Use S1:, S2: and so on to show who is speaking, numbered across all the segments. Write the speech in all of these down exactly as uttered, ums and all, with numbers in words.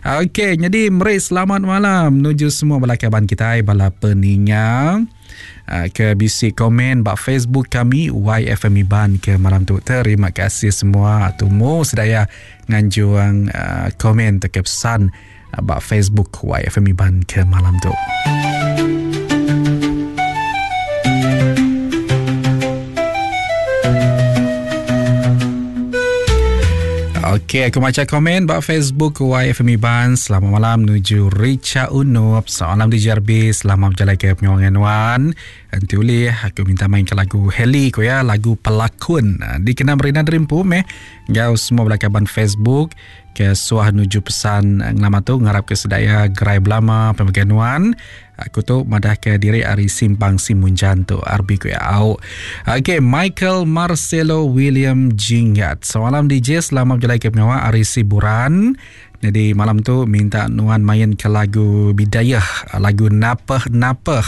S1: Okey, jadi meri selamat malam menuju semua bala kaban kita, bala peninga ke bisi komen ba Facebook kami Y F M Iban ke malam tu. Terima kasih semua tumu sedaya nganjuang uh, komen ke pesan uh, ba Facebook Y F M Iban ke malam tu. Okey, aku baca komen ba Facebook Y F M Iban. Selamat malam menuju Richa Unup. Selamat malam D J R B. Selamat berjalan ke pengawangan Wan. Nanti boleh aku minta main ke lagu Heli ko ya, lagu Pelakon. Dikenal Merina Derimpu meh. Gau semua belakaban Facebook ke suah nuju pesan ngelama tu ngarap ke sedaya gerai belama pemakai Wan. Aku tu madah ke diri ari Simpang Simunjan tu R B ku ya. Au. Okey, Michael Marcelo William Jinggat. Selamat malam D J, selamat berjalan ke pengawal ari Siburan. Jadi malam tu minta Nuan main ke lagu Bidayah, lagu Napeh Napeh.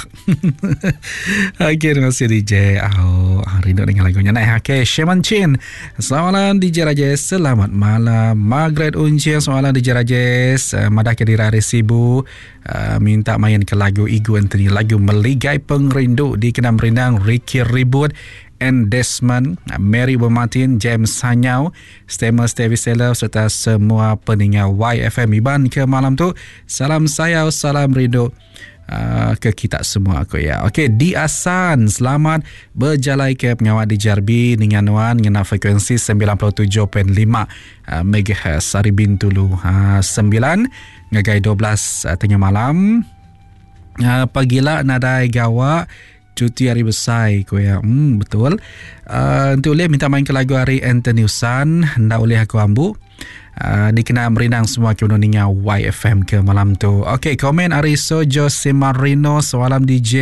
S1: Okey, terima kasih D J. Oh, rindu dengan lagunya. Nah, okey, Sheman Chin. Selamat malam D J Rajesh. Selamat malam Margaret Uncing. Selamat malam D J Rajesh. Uh, madah ke diri ari Sibu. Uh, minta main ke lagu Igu Anthony, lagu Meligai Pengerindu di Kenam Rindang, Ricky Ribut and Desmond, Mary Bermartin, James Sanyau, Stemer Stevie Seller serta semua peninga Y F M Iban ke malam tu. Salam sayau, salam rindu uh, ke kita semua aku ya. Okey, di Asan, selamat berjalai ke pengawal di Jarbi dengan Wan ngena frekuensi sembilan puluh tujuh perpuluhan lima uh, megahertz hari Bintulu uh, sembilan ngagai dua belas uh, tengah malam. Uh, pagila nadai gawak cuti hari besar ko ya. Hmm, betul. Uh, untuk boleh minta main ke lagu hari Anthony Usan, ndak boleh aku ambu. Uh, dikena merindang semua ke ninga Y F M ke malam tu. Okey, komen ari Sojo Semarino, semalam D J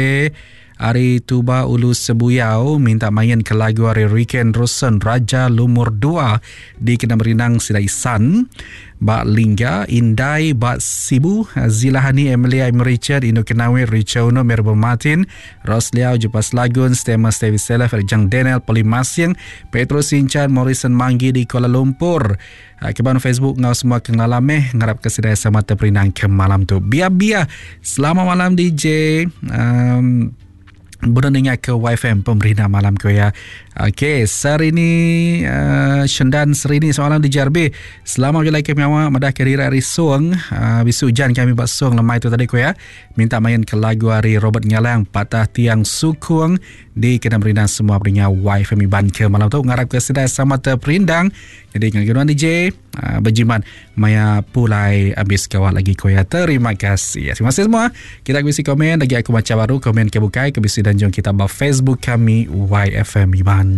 S1: Ari Tuba Ulu Sebuyau minta main ke lagu hari Riken Rusen Raja Lumur dua di kena merindang Sidai San. Bak Lingga, Indai, Bak Sibu, Zilahani, Emilia, Em Richard, Indo Kenawi, Richard Uno, Merbo Martin, Ros Liao, Jupas Lagun, Stema Stevie Selef, Jang Daniel, Polimasing, Petro Sinchan, Morrison Manggi di Kuala Lumpur. Keban Facebook ngau semua kengalameh ngarap kesedaya sama terperindang ke malam tu. Biar-biar. Selamat malam D J. Um, Berdengar ke Y F M pemerintah malam ko ya. Okey, Serini uh, Shendan Serini soalan di J R B. Selamat berjumpa ke pengawa madah kerira hari Suang. Uh, bisu hujan kami buat suang lemai tu tadi ko ya. Minta main ke lagu hari Robert Ngalang Patah Tiang Sukung di kena merindang semua pendengar Y F M Iban ke malam tu. Ngarap ke sedai sama terperindang. Jadi dengan D J uh, berjimat maya pulai habis kawal lagi ko ya. Terima kasih. Terima kasih semua. Kita bisi komen lagi aku baca baru komen ke bukai ke bisi dan jom kita ba Facebook kami Y F M Iban.